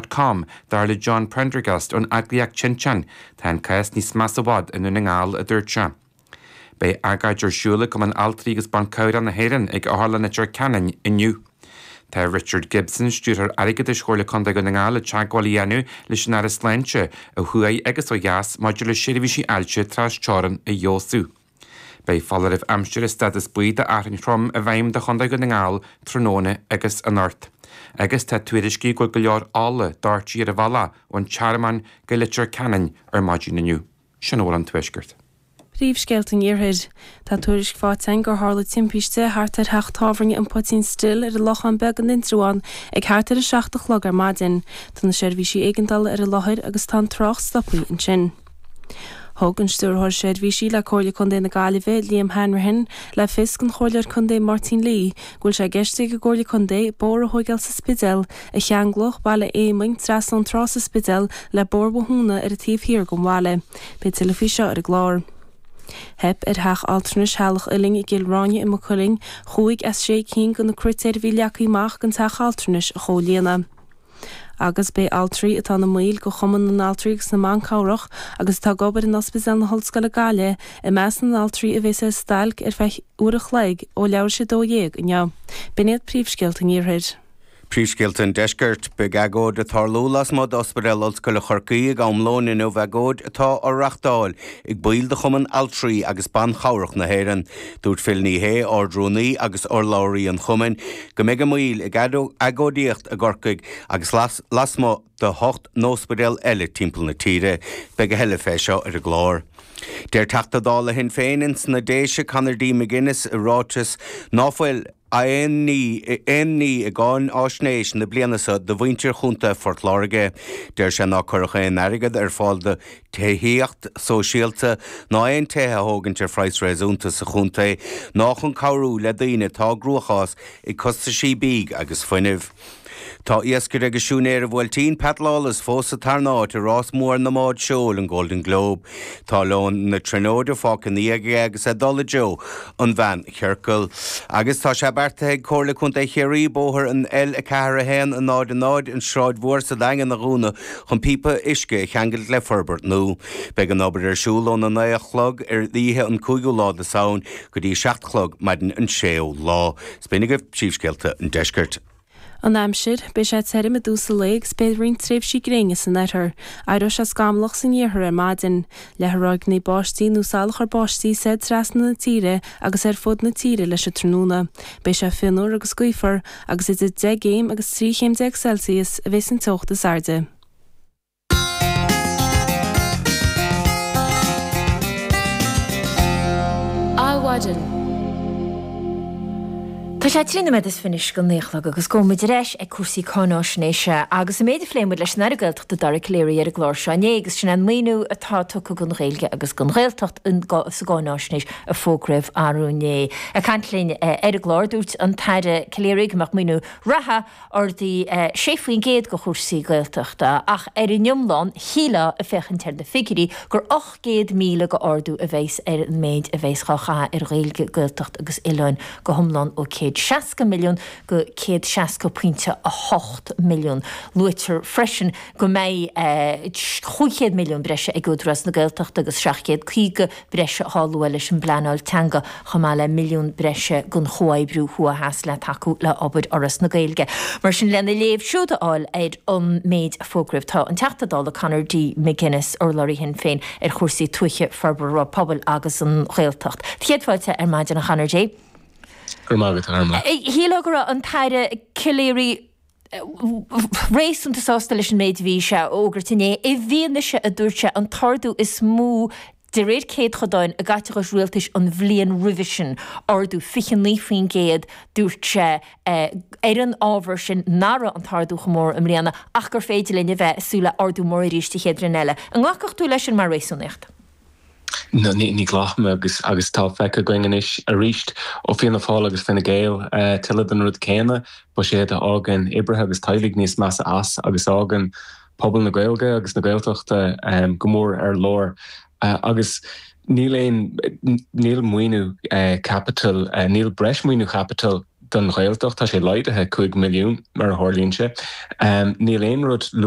Com, dar le John Prendergast ón eagraíocht Tinteán, tá an cás níos measa i bhfad i nDún na nGall, a dúirt sé. Beidh agóid ar siúl ag Cumann Altraí agus Ban Cabhrach na hÉireann ag Otharlann Leitir Ceanainn inniu. Tá Richard Gibson, Stiúrthóir Airgeadais Chomhairle Contae Dhún na nGall ag teagmháil a dhéanamh leis an Aire Sláinte ó thuaidh agus ó dheas maidir le seirbhísí ailse tras-teorann a fheabhsú. Beidh foláireamh aimsire stádas buí d'fhearthainn throm i bhfeidhm do Chontae Dhún na nGall tráthnóna agus anocht. Agus tá tuairiscí go bhfuil go leor ola doirte ar an bhealach ón Tearmann go Leitir Ceanainn ar maidin inniu. Sin a bhfuil ón Tuaisceart. Príomhscéalta an Iarthair. Tá tuairisc faighte againn gur tharla timpiste thart ar theach tábhairne An Poitín Stil ar an Lochán Beag in Indreabhán ag thart ar 7 a chlog ar maidin. Tá na seirbhísí éigeandála ar an láthair agus tá an trácht stoptha ansin. Thug an Stiúrthóir Seirbhísí le Comhairle Contae na Gaillimhe, Liam Hanrahan, le fios don Chomhairleoir Contae Máirtín Lee go bhfuil sé i gceist ag an gComhairle Contae bóthar a thóigeáil sa Spidéal a cheanglódh Baile Éamainn trasna ón trá sa Spidéal le Bóthar Bhothúna ar an taobh thiar den bhaile. Beidh tuilleadh faoi seo ar an gclár. Theip ar theach altranais Theaghlach Uilinn i gCill Ráine i Maigh Cuilinn chúig as sé cinn de na critéir a bhí leagtha amach don teach altranais a chomhlíonadh. Agus beidh altraí atá ina mbaill de Chumann na nAltraí agus na mBan Cabhrach agus atá ag obair in Ospidéal na hOllscoile Gaillimh i measc na n-altraí a bheas ar stailc ar feadh uair a chloig ó leathuair tar éis 12 inniu. B'in iad príomhscéalta an Iarthair. Príomhscéalta an Deiscirt. Beidh agóid ag tarlú lasmuigh d'Ospidéal Ollscoile Chorcaí ag am lóin inniu, agóid atá á reachtáil ag baill de Chumann Altraí agus Ban Chabhrach na hÉireann. Dúirt Phil Ní Sheaghdha, Ard-Rúnaí agus urlabhraí an chumainn, go mbeidh a mbaill ag agóidíocht i gCorcaigh agus lasmuigh de hocht n-óspidéal eile timpeall na tíre. Beidh a thuilleadh fé seo ar an gclár. Deir Teachta Dála Shinn Féin ins na Déise, Conor D. McGuinness i ráiteas ná fuil aon ní aon ní i gcáináisnéis na bliana seo do mhuintir Chontae Phort Láirge. Deir sé ná cuireadh aon airgead ar fáil do tithíocht sóisialta ná aon tithe a thógaint ar phraghas réasúnta sa chontae ná chun cabhrú le daoine atá i gcruachás ag costaisí bídh agus fuinnimh. Tá iascaire agus siúinéir an Bhuailtín, Pat Lawless, fós sa tarna áit i rás mór na mbád seoil, an Golden Globe. Tá Leon na Tríonóide fágtha ina dhiaidh aige agus é ag dul i dtreo an mheánchiorcail. Agus tá sé beartaithe ag Comhairle Contae Chiarraí bóthar an L4 1 0 0, an Sráid Mhór sa Daingean a dhúnadh chun píopa uisce a cheangailt le forbairt nua. Beidh an obair ar siúl óna 9 a chlog ar oíche an 5ú lá de Samhain go dtí 7 a chlog maidin an 6ú lá. 'S b'in agaibh príomhscéalta an deiscirt. An aimsir, Beidh sé tirim i dtús an lae agus beidh roinnt tréimhsí gréine san oirthear. Éireoidh sé scamallach san iarthar ar maidin. Leathfaidh ráigeanna báistí nó salachar báistí soir trasna na tíre agus ar fud na tíre leis an tráthnóna. Beidh sé fionnuar agus gaofar agus idir 10 gcéim agus 13 chéim Celsius a bheas an teocht is airde. Adhmhaidin. Tá sé 13 nóiméad is fiche go 9 a chlog agus gabhfaidh muid ar ais ag cúrsaí cáináisnéise agus an méid a phléigh muid leis an Aire Gaeltachta Dara Calleary ar an gclár seo inné agus sin é an maoiniú atá tugtha don Ghaeilge agus don Ghaeltacht sa gcáináisnéis a fógraíodh arú inné. Ag caint linn ar an gclár dúirt an tAire Calleary go mbeadh maoiniú reatha ardaithe 6% do chúrsaí Gaeltachta ach ar an iomlán, shílfeá, ag féachaint ar na figiúirí, gur 800,000 de ardú a bheas ar an méid a bheas dhá chaitheamh ar Ghaeilge, Gaeltacht agus Oileáin go hiomlán ó 160 milliún go 160.8 milliún. Luaitear freisin go mbeidh 500 milliún breise ag Údarás na Gaeltachta agus 750 breise dhá lua leis an bpleanáil teanga chomh maith le milliún breise don chomhoibriú thuaidh-theas le tacú le obair Fhoras na Gaeilge. Mar sin, lena léamh siúd a fháil ar an méid a fógraíodh, tá an Teachta Dála Conor D. McGuinness, urlabhraí Shinn Féin ar chúrsaí tuaithe, forbartha pobail agus an Ghaeltacht. Céad fáilte ar maidin a Chonor D. Go raibh maith agat, a Ormla. Shílfeá go raibh an tAire Calleary réasúnta sásta leis an méid a bhí sé a fhógairt inné, i bhfianaise, a dúirt sé, an t-ardú is mó de réir céadchodáin i gcaiteachas rialtais an bhliain roimhe sin, ardú 29%, dúirt sé, ar an ábhar sin nach raibh an t-ardú chomh mór i mbliana ach gur féidir linn a bheith ag súil le ardú mór arís an chéad bhliain eile. An nglacfadh tú leis sin mar réasúnaíocht? No, ní ghlacaim agus agus tá feicthe againn anois arís ó Fianna Fáil agus Fine Gael tuilleadh den rud céanna, buiséad a fhágann oibrithe agus teaghlaigh níos measa as agus a fhágann pobal na Gaeilge agus na Gaeltachta go mór ar lár. Agus níl aon, níl maoiniú caipitil, níl breis maoiniú caipitil. don Ghaeltacht, tá sé laghdaithe 5 milliún mar a tharlaíonn sé. Níl aon rud luaite.